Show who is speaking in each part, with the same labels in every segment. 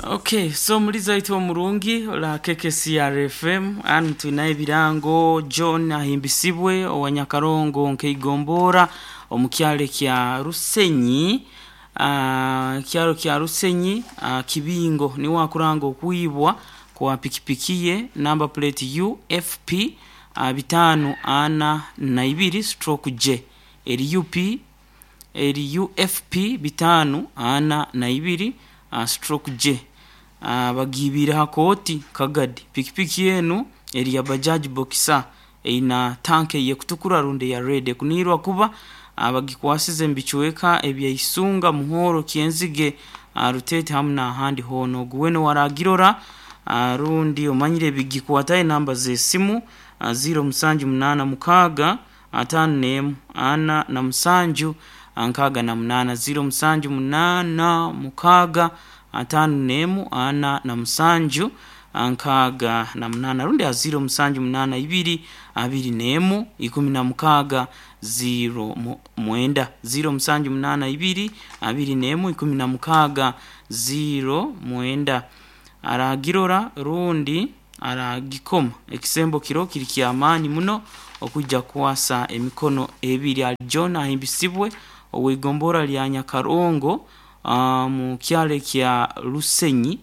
Speaker 1: Okay, so muliza waitu omurungi ola KKCR FM anu twinayo ebirango. John Ahimbisibwe owa Nyakarongo nkeigombora omu kyalo kya Rusenyi, kyalo kya Rusenyi, Kibingo, niwe akuranga okwibwa kwa pikipiki ye number plate UFP 542 stroke J, eri UP, eri UFP 542 stroke J. Bagiibire ha kooti Kagadi. Pikipiki enu eri ya Bajaj Boxer, eina tanka ey'ekutukura rundi eya red. Ekuniirwa kuba bagikwasize mu bicweka ebya Isunga, Muhoro, Kyenzige, Rutete hamu n'ahandi hoona. Ogu weena owaragirora rundi omanyire ebigikwataho, enamba z'esimu 0786 51 47 68, 0786 51 47 68, rundi ha 0782 21 16 09, 0782 21 16 09. Aragirora rundi aragikoma ekisembo kiro kiri kyamaani muno okwijja kukwasa emikono ebiri. Ali John Ahimbisibwe ow'igombora lya Nyakarongo, mu kyalo kya Rusenyi,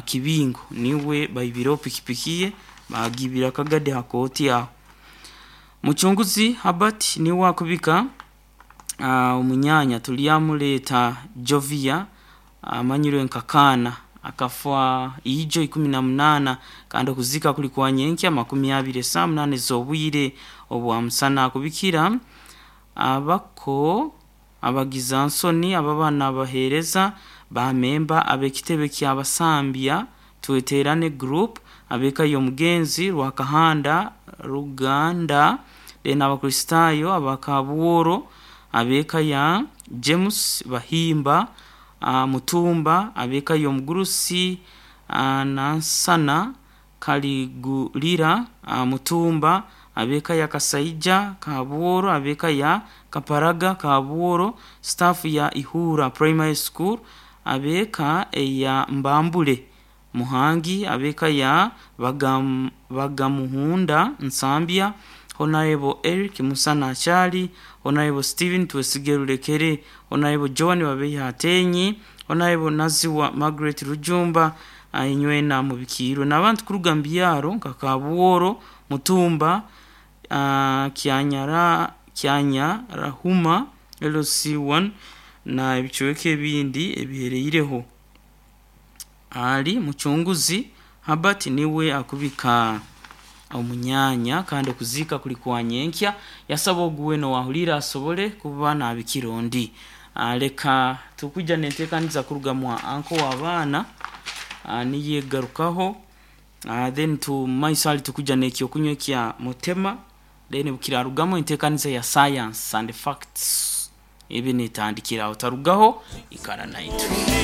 Speaker 1: Kibingo, niwe baibireho pikipiki ye, bagiibira Kagadi ha kooti aho. Mucunguzi Habert niwe akubika omunyanya tulyamuleeta Jovia amanyirwe nka Kaana, akafa ijo 18, kandi okuziika kuli kwa nyenkya 20 esaaha 8 ez'obwire obwa musana. Akubikira abako, abagizansoni, ababaana, abaheereza bamemba ab'ekitebe ky'Abasambya Tweterane Group, ab'eka y'omugenzi Rwakahanda Ruganda, then Abakristaayo abakabworo, ab'eka ya James Bahimba, Mutumba, ab'eka y'omugurusi Nansana Kaligulira, Mutumba, ab'eka ya Kasaija Kabworo, ab'eka ya Kaparaga Kabworo, staff ya Ihura Primary School, ab'eka eya Mbambule Muhangi, ab'eka ya Bagamuhunda Nsambya, Honorable Eric Musana Achali, Honorable Stephen Twesige Rulekere, Honorable John Babeiha Atenyi, Honorable Naziwa Margaret Rujumba, inywena mubikiirwe n'abantu kuruga mu byaro nka Kabworo, Mutumba, Kyanyara, Kyanyarahuma LC1 na ebicweka ebindi ebihereireho. Ali Mucunguzi Habert niwe akubika omunyanya, kandi okuziika kuli kwa nyenkya. Yasaba ogu weena owahuriire asobole kuba nabikira ondi. Leka tukwijja nenteekaniza kuruga mwa anko w'abaana, niyo egarukaho, then tumaiso hali tukujja n'ekyokunywa ekya mutema, then bukirarugamu enteekaniza ya science and facts ebe netandikiraho. Tarugaho, ikara naitwe.